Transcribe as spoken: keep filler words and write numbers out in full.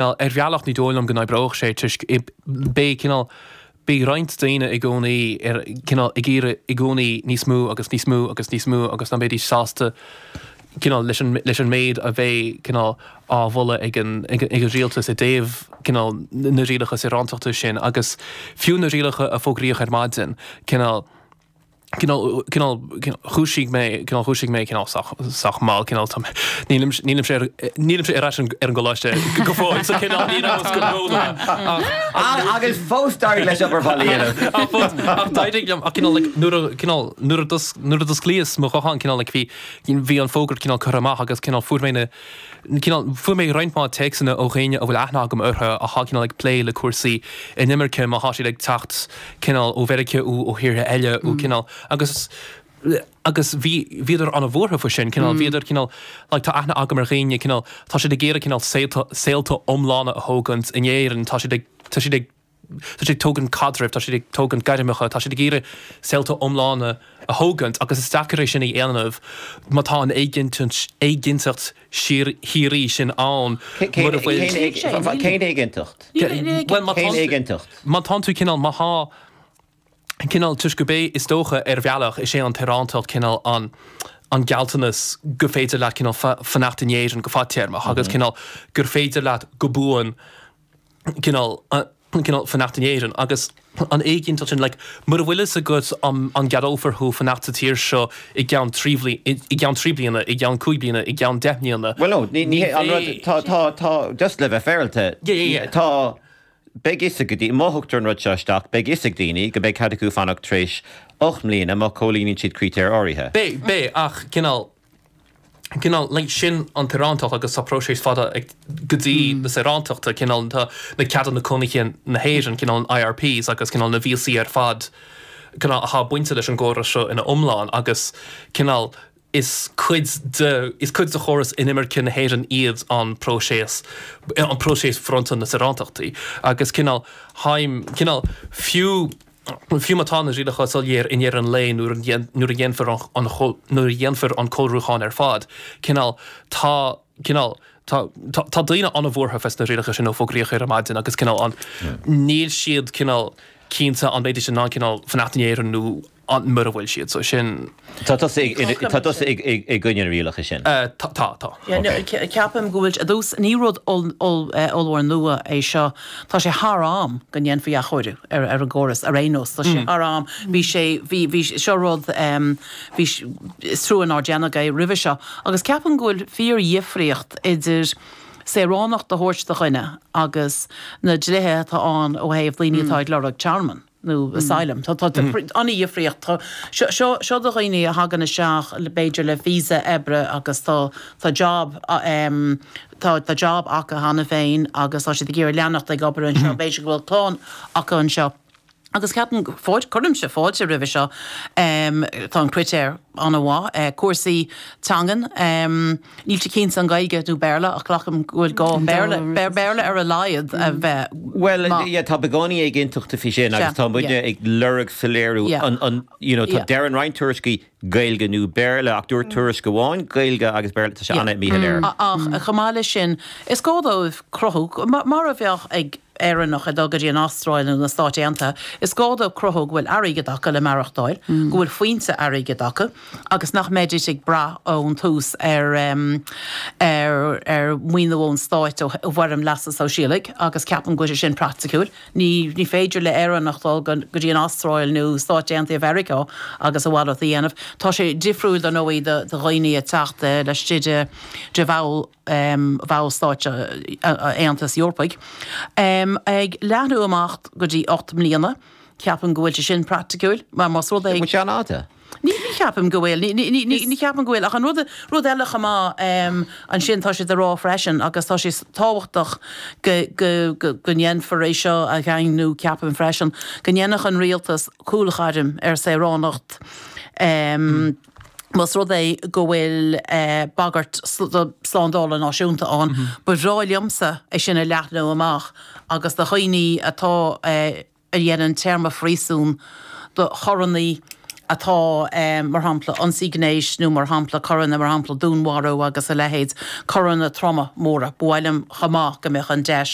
Ar bhealach, ní dóigh liom go n-oibreodh sé, toisc beidh cineál beidh roinnt daoine i gcónaí ar cineál ag iarraidh i gcónaí níos mó agus níos mó agus níos mó, agus nach mbeidís sásta cineál leis an leis an méid a bheidh cineál á mholadh ag an ag an rialtas i dtaobh cineál na rialacha saorántachta sin. Agus fiú na rialacha a fógraíodh ar maidin, cineál cineál cineál dhúisigh mé cineál dhúisigh mé cineál sách sách mall. Cineál tá nílim nílimse ar nílimse ar ais ar an gcoláiste go fóill, so cineál ní rabhas go róluath. Agus fós d'éirigh leis obair bhaile a dhéanamh. Ach fós, ach d'éirigh liom, ach cineál like nuair a cineál nuair a d'os nuair a d'osclaíos mo ghuthán, cineál like bhí bhí an fógra cineál curtha amach, agus cineál fuair mé na cineál fuair mé roinnt mhaith téacsanna ó dhaoine a bhfuil aithne agam orthu atá cineál ag plé le cúrsaí inimirce, má tá siad ag teacht cineál ó Mheiriceá ó ó thíortha eile ó cineál agus agus bhí bhíodar an-bhuartha faoi sin. Cineál bhíodar cineál like tá aithne agam ar dhaoine, cineál tá siad ag iarraidh cineál saolta saolta iomlána a thógaint in Éirinn, tá siad ag tá siad ag tá siad ag tógaint caidrimh, tá siad ag tógaint gairmeacha, tá siad ag iarraidh saolta iomlána a thógaint, agus is deacair é sin a dhéanamh má tá an éiginnteacht éiginnteacht síor shíoraí sin ann mura bhfuil Cén éiginnteacht? Bhuel, má Cén éiginnteacht? má tá tú cineál má thá cineál toisc go bé is dócha ar bhealach is é an tsaoránacht cineál an an gealltanas go féidir leat cineál fanacht in Éirinn go fadtéarmach agus cineál gur féidir leat go buan cineál cineál fanacht in Éirinn. Agus an éiginnteacht sin, like, mura bhfuil fhios agat an an gceadófar thú fanacht sa tír seo i gceann trí i gceann trí bliana, i gceann cúig bliana, i gceann deich mbliana. Well no, ní ní an rud tá tá tá just le bheith féaráilte, Yeah, yeah, yeah. tá beidh fhios ag daoine, má thugtar an rud seo isteach, beidh fhios ag daoine go mbeidh cead acu fanacht tar éis ocht mbliana má chomhlíonann siad critéir áirithe. Beidh, beidh, ach cineál cineál like sin an tsaoránacht, agus tá próiseas fada ag go dtí na saorántachta, cineál tá na ceadanna cónaithe na hÉireann, cineál an I R Ps agus cineál na víosaí ar fad cineál atá bainte leis an gcóras seo ina iomlán, agus cineál is cuid de is cuid de chóras inimirce na hÉireann iad an próiseas an próiseas bronnta na saorántachtaí. Agus cineál haim cineál fiú fiú má tá na rialacha soiléir i ndeireadh an lae, nuair a nuair a dhéanfar an nuair a dhéanfar an cóiriúchán ar fad, cineál tá cineál tá tá daoine an-bhuartha fés na rialacha sin ó fógraíodh ar maidin, agus cineál an níl siad cineál cinnte an mbeidís in ann cineál fanacht in Éirinn nó an mura bhfuil siad so sin. Tá tusa tá tusa i gcoinne na rialacha sin? Tá, tá. Ceapaim go bhfuil i dtús ní rud ollmhór nua é seo. Tá sé thar am go ndéanfaí athchóiriú ar ar an gcóras ar aon nós. Tá sé thar am. Bhí sé bhí bhí seo rud bhí is trua nár déanadh é roimhe seo, agus ceapaim go bhfuil fíordhifríocht idir saoránacht a thabhairt do dhuine agus na dlíthe atá ann ó thaobh daoine atá ag lorg tearmann nó asylum. Tá an-dhifríocht. Seo seo do dhaoine a thagann isteach b'fhéidir le visa oibre agus tá tá job tá tá job acu cheana féin agus tá siad ag iarraidh leanacht ag obair anseo, b'fhéidir go bhfuil clann acu anseo. Agus ceapaim cuirimse fáilte roimhe seo. Tá an critéir an-mhaith. Cúrsaí teangan, níl sé cinnte an Gaeilge nó Béarla, ach glacaim go bhfuil gá Béarla Béarla ar a laghad a bheith. Well, tá beagáinín éiginnteachta faoi sin agus tá muidne ag lorg soiléiriú an an you know tá deir an roinnt tuairiscí Gaeilge nó Béarla, ach dúirt tuairisc amháin Gaeilge agus Béarla. Tá sé an-mhíshoiléir. Ach chomh maith leis sin, is gá dóibh cruthú mar a bheadh ag Éireannach ag dul go dtí an Astráil nó na Stáit Aontaithe, is gá dóibh cruthú go bhfuil airgead acu le maireachtáil, go bhfuil foinse airgid acu agus nach mbeidís ag brath ón tús ar ar ar mhaoiniú ón stáit ó bhfoirm leasa sóisialaigh, agus ceapaim go bhfuil sé sin praiticiúil. Ní ní féidir le Éireannach dul go dtí an Astráil nó Stáit Aontaithe Mheiriceá agus a mhalairt a dhéanamh. Tá sé difriúil dar ndóigh do dhaoine ag teacht laistigh de de bhall bhallstáit Aontas Eorpaigh. Um, ag leathnú amach go dtí ocht mbliana, ceapaim go bhfuil sé sin praiticiúil, mar más rud é sé an-fhada. Ní ní cheapaim go bhfuil, ní cheapaim go bhfuil. Ach an rud rud eile chomh maith ansin, tá sé á rá freisin, agus tá sé tábhachtach go go go ndéanfar é seo a dhaingniú, ceapaim freisin, go ndéanfadh an rialtas cúlghairm ar saoránacht Um, Más rud é go bhfuil eh, bagairt slándála náisiúnta ann, mm -hmm. Ba bhreá liomsa é sin a leathnú amach agus do dhaoine atá eh, a dhéanann téarma phríosúin, do choireanna atá mar shampla ionsaí gnéis nó mar shampla coireanna mar shampla dúnmharú agus a leithéid, coireanna troma móra. Ba mhaith liom chomh maith go mbeadh an deis